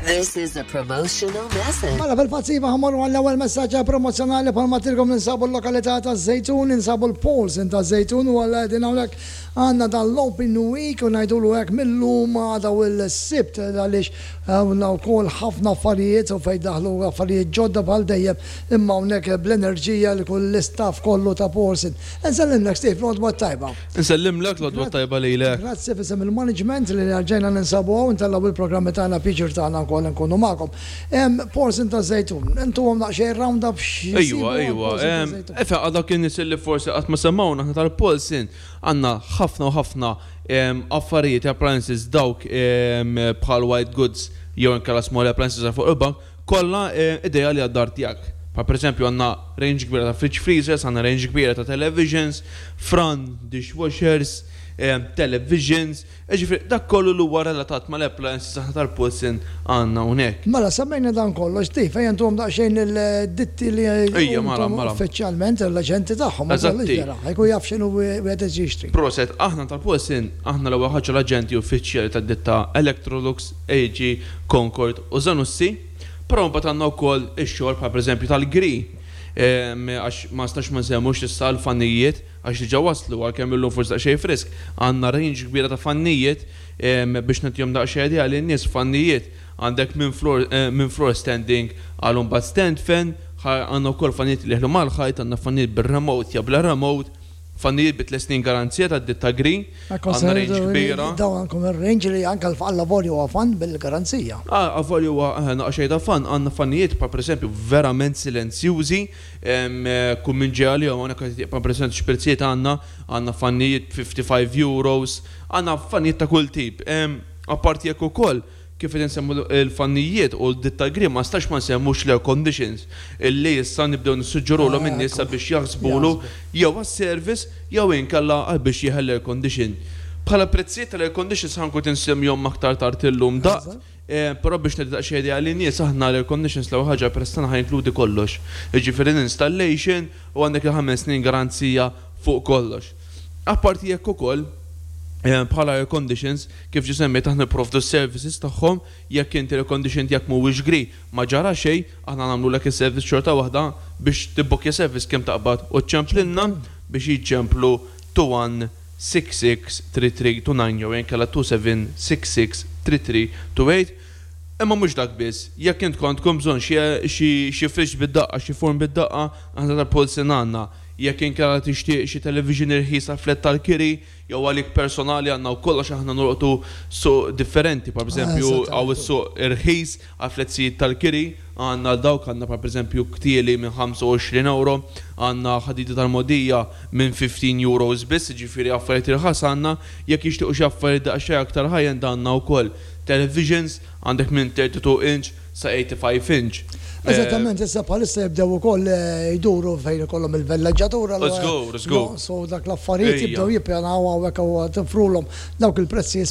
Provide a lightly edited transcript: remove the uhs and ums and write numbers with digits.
This is a promotional message. Mela fil-fatt iva, ħa mmorru għall-ewwel messaġġ promozzjonali. Bħalma għedtilkom, ninsabu l-lokalità ta' Żejtun, ninsabu l-Paulsen ta' Żejtun u għal din hawnhekk għandna dan l-Open Week u ngħidulu hekk mill-lum għada u l-Sibt, għaliex hawn wkoll ħafna affarijiet u fejn daħlu affarijiet ġodda bħal dejjem, imma hawnhekk bl-enerġija li kull l-istaff kollu ta' Paulsen. Nsellimlek, Steve, l-għodwa tajba. Nsellimlek, l-għodwa tajba lilek. Grazzi f'isem il-management li rġajna ninsabu hawn, intellaw il-programmi tagħna, pjaċir tagħna wkoll nkunu magħkom. Paulsen ta' Żejtun, intuhom daqsxejn round up x'jisibu. Efe, għal dawk in-nies li forsi qatt ma semgħuna, aħna tal-Paulsen għandna ħafna u ħafna affarijiet, appliances, dawk bħal white goods jew inkella small appliances fuq il-bank, kollha ideali għad-dar tiegħek. Pa per eżempju għandna range kbira ta' fridge freezers, għandna range kbira ta' televisions, fran, dishwashers, televisions, ġifieri dak kollu li huwa relatat mal-appliances aħna tal-Paulsen għandna hawnhekk. Mela, semmejna dan kollox, Steve, ejja ntuhom daqsxejn il-ditti li Ejja, mela. uffiċjalment l-aġenti tagħhom. Eżatti. Ħa jkun jaf x'inhu wieħed jixtri. Prosit, aħna tal-Paulsen, aħna l-ewwel ħaġa l-aġenti uffiċjali tad-ditta Electrolux, AEG, Concord u Zanussi, però mbagħad għandna wkoll ix-xogħol bħal pereżempju tal-Gree, għax ma nistax ma nsemmux issa l-fannijiet, għax diġà waslu, għalkemm illum forsi daqsxejn frisk, għandna range kbira ta' fannijiet biex nagħtihom daqsxejn idea lin-nies. Fannijiet għandek minn floor standing għal mbagħad stand fan, għandna wkoll fannijiet li jeħlu mal-ħajt, għandna fannijiet bir-remote jew bla remote, fannijiet bi 3 snin garanzija ta' ditta Gree, għandna range kbira. Dawn għandkom il-range li anke l-avolju huwa fan bil-garanzija. Ah, avolju huwa naqra ta' fan, għandna fannijiet pa' per eżempju verament silenzjużi, kull minn ġej għalihom hawnhekk, pa' per eżempju x'prezzijiet għandna, għandna fannijiet €55, għandna fannijiet ta' kull tip. Apparti jekk ukoll, kif qed insemmu l-fannijiet u d-ditta Gree, ma stax ma nsemmux l-air conditions illi issa nibdew nissuġġerulhom in-nies sabiex jaħsbulu jew għas-service jew inkella għal biex jeħel air condition. Bħala prezzijiet tal-air conditions ħa nkun insemmihom aktar tard illum daqt, però biex nagħti daqsxejn idea lin-nies, aħna l-air conditions l-ewwel ħaġa prezz tagħna ħa jinkludi kollox. Jiġifieri l-installation u għandek il-5 snin garanzija fuq kollox. Apparti jekk ukoll bħala air conditions, kif ġi semmejt, aħna nipprovdu services tagħhom. Jekk inti air condition tiegħek mhuwiex Gree, ma ġara xejn, aħna nagħmlulek is-service xorta waħda. Biex tibbukkja service kemm taqbad u ċċemplilna biex jiċċemplu 21 663329 jew inkella 27 66 3328. Imma mhux dak biss, jekk intkom għandkom bżonn xi fridge bid-daqqa, xi forn bid-daqqa, aħna tal-Paulsen għandna. Jekk inkella tixtieq xi television irħisa, flat tal-kiri, jew għalik personali, għandna wkoll, għax aħna nolqtu suq differenti, pa eżempju hawn is-suq irħis għal fletzijiet tal-kiri, għandna dawk, għandna pa eżempju ktieli minn €25, għandna ħadidi tal-mogħdija minn €15 biss, ġifieri affarijiet irħas għandna. Jekk jixtiequ xi affarijiet daqsxejn aktar high-end, għandna wkoll televisions, għandek minn 32 inch sa 85 inch. Eżattament, issa bħalissa jibdew ukoll jduru fejn ikollhom il-villeġġatura. Let's go, let's go. So dak l-affarijiet jibdew jippjanaw hawnhekk u tifrulhom dawk il-prezzi.